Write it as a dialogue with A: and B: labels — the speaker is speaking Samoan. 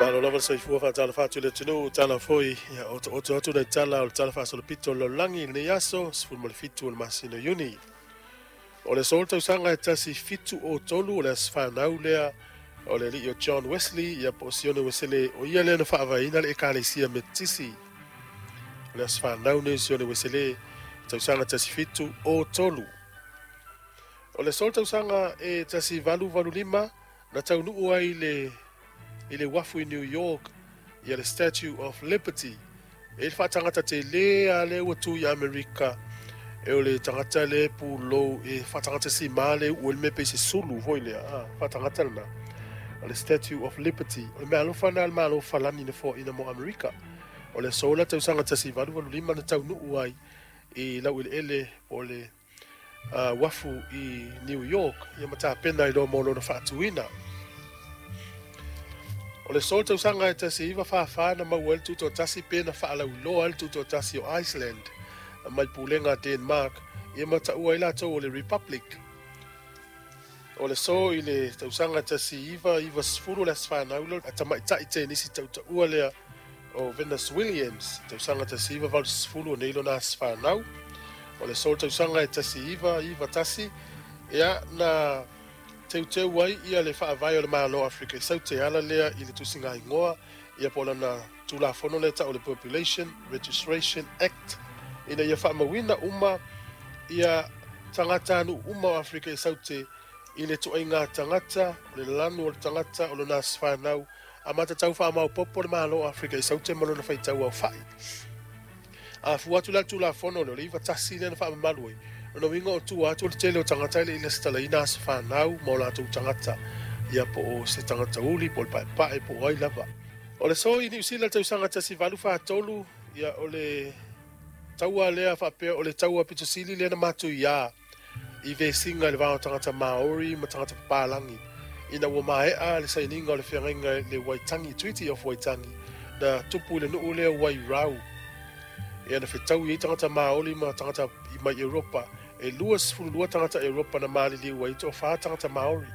A: Malo lava le soifua faatalofa atu i le atunuu tala foi ia otooto atu le tala o le tala faasolopito o le lalolagi i lenei aso 17 o le masina o Iuni. O le aso le tausaga e 1703 o le aso fanau lea o le alii o John Wesley ia po o Sione Wesele o ia lea na faavaeina le ekalesia Metotisi. O le aso fanau nei o Sione Wesele tausaga 1703. O le aso le tausaga e 1885 na taunuu ai i le uafu i New York ia le Statue of Liberty e le faatagata tele a lea ua tu i Amerika e o le tagata le pulou e faatagata simā le uu ai le mea pei se sulu foi lea a faatagata lena o le Statue of Liberty o le mea alofa lena a le Malo Falani na foaina mo Amerika. O le aso la tausaga 1885 na taunuu ai i laueleele po o le uafu i New York ia ma tapena ai loa mo lona faatuina. O le aso le tausaga e 1944 na maua ai le tutoatasi pe na faalauiloa ai le tutoatasi o Iceland mai pulega a Denmark ia ma taua ai latou o le Republic. O le aso i le tausaga 1990 le aso fanau lea o tamaitai tenisi tautaua lea o Venus Williams, tausaga 1980 o nei lona aso fanau. O le aso le tausaga e 1991 ia na teuteu ai ia le faavae o le Malo o Afrika i Saute e ala lea i le tusiga igoa ia po o lana Tulafono lea e tau o le Population Registration Act ina ia faamauina uma ia tagatanuu uma o Afrika i Saute i le ituaiga tagata, o le lanu o le tagata, o lona aso fanau, a matatau faamaopoopo le Malo o Afrika i Saute ma lona faitau aofai. A fua atu la le Tulafono lea, o le 91 lea na faamamalu ai, lona uiga o tua atu o le tele o tagata e le i lesitalaina aso fanau ma o latou tagata, ia po o se tagata uli, po o le paepae, po o ai lava. O le aso i Niu Sila i le tausaga 1843, ia o le taua lea faapea o le taua pito sili lea na matuiā i vesiga i le va o tagata Māori ma tagata papalagi ina ua maea le sainiga o le feagaiga i le Waitangi, Treaty of Waitangi, na tupu i le nuu lea o Wairau. Ia na fetaui ai tagata Māori ma tagata mai Europa. E 22 tagata Europa na maliliu ai, toafa tagata Māori.